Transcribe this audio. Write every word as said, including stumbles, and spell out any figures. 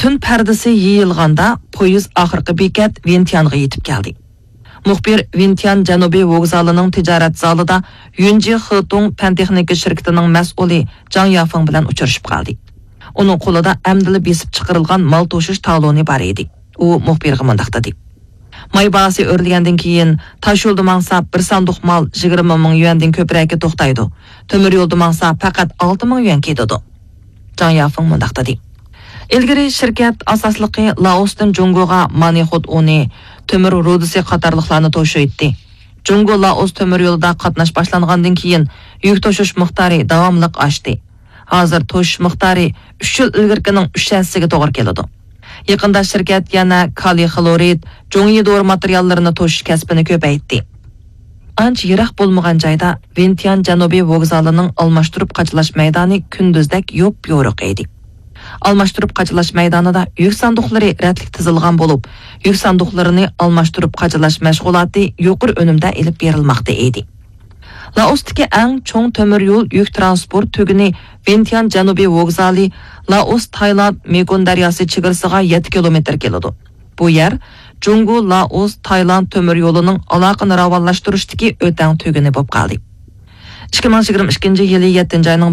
تۈن پەردىسى يېيىلغاندا، پويىز ئاخىرقى بېكەت ۋىنتيانغا يېتىپ كەلدى. مۇخبىر ۋىنتيان جەنۇبىي ۋوگزالىنىڭ تىجارەت زالىدا يۈنجى خېتۇڭ پەن تېخنىكا شىركىتىنىڭ مەسئۇلى جاڭ يافېڭ بىلەن ئۇچرىشىپ قالدى. ئۇنىڭ قولىدا ئەمدىلا بېسىپ چىقىرىلغان مال توشۇش تالونى بار ئىدى. ئۇ مۇخبىرغا مۇنداق دېدى: ماي باھاسى ئۆرلىگەندىن كېيىن، تاش يولدا ماڭسا، بىر ساندۇق مال يىگىرمە مىڭ يۈەندىن كۆپرەككە توختايدۇ. تۆمۈر يولدا ماڭسا، پەقەت ئالتە مىڭ يۈەن كېتىدۇ. جاڭ يافېڭ مۇنداق دېدى: ئىلگىرى شىركەت ئاساسلىقى لائوستىن جۇڭگوغا مانىخوت ئۇنى، تۆمۈر رۇدىسى قاتارلىقلارنى توشۇيتتى. جۇڭگو لائوس تۆمۈر يولىدا قاتناش باشلانغاندىن كېيىن، يۈك توشۇش مىقدارى داۋاملىق ئاشتى. ھازىر توشۇش مىقدارى ئۈچ يىل ئىلگىرىكىنىڭ ئۈچ ھەسسىسىگە توغرا كېلىدۇ. يېقىندا شىركەت يەنە كالىي خلورىد، جۇڭيى دورا ماتېرىياللىرىنى توشۇش كەسپىنى كۆپەيتتى. ئانچە يىراق بولمىغان جايدا ۋىنتيان جەنۇبىي ۋوگزالىنىڭ ئالماشتۇرۇپ قاچىلاش مەيدانى كۈندۈزدەك يوپيورۇق ئىدى. ئالماشتۇرۇپ قاچىلاش مەيدانىدا يۈك ساندۇقلىرى رەتلىك تىزىلغان بولۇپ، يۈك ساندۇقلىرىنى ئالماشتۇرۇپ قاچىلاش مەشغۇلاتى يۇقىرى ئۈنۈمدە ئېلىپ بېرىلماقتا ئىدى. لائوستىكى ئەڭ چوڭ تۆمۈر يول يۈك تىرانسپورت تۈگۈنى ۋىنتيان جەنۇبىي ۋوگزالى لائوس تايلاند مېكون دەرياسى چېگرىسىغا يەتتە كىلومېتىر كېلىدۇ. بۇ يەر جۇڭگو لائوس تايلاند تۆمۈر يولىنىڭ ئالاقىنى راۋانلاشتۇرۇشتىكى ئۆتەڭ تۈگۈنى بولۇپ قالدى. ئىككى مىڭ يىگىرمە ئىككىنچى يىلى يەتتىنچى ئاينىڭ